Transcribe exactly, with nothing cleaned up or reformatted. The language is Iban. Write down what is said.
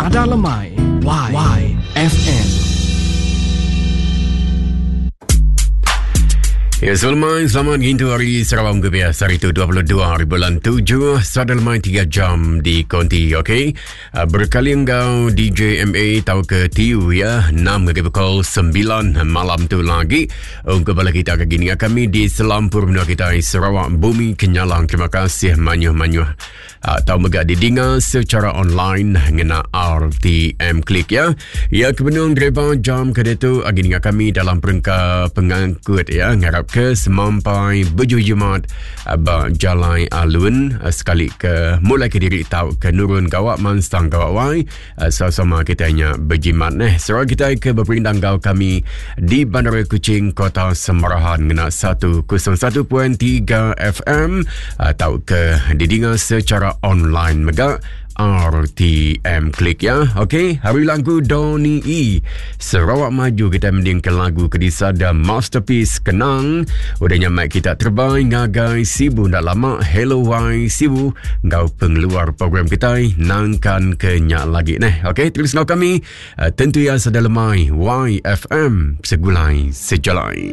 Sada Lemai Y Y F M. Ya, selamat, selamat gintu hari Sarawak biasa hari itu dua puluh dua hari bulan tujuh, sada lemai tiga jam di konti, okey. Berkali engkau D J M A tau ke T U ya, enam ke pukul sembilan malam tu lagi. Untuk bala kita ke gini kami di selampur menua kita Sarawak Bumi Kenyalang. Terima kasih manyuh-manyuh atau mega didinga secara online ngena R T M Klik ya. Ya kebenung driver jam ke tu agi ninga kami dalam perengka pengangkut ya, ngarap ke semampai berjumat ba jalai alun sekali ke mulai ke diri tau ke nurun gawak mansang gawak wai sama-sama kita nya berjimat neh. Serang kita ke berperindang gau kami di Bandar Kuching Kota Semarahan ngena seratus satu titik tiga F M atau ke didinga secara online mega R T M Klik ya. Okey, hari lagu Donny E Sarawak Maju kita mending ke lagu kedisada Masterpiece Kenang. Udah nyamak kita terbai ngagai Sibu ndak lama. Hello Y Sibu ngau pengeluar program kita nangkan kenyak lagi neh. Okey, terus ngau kami tentu ya sada lemai Y F M segulai sejalai.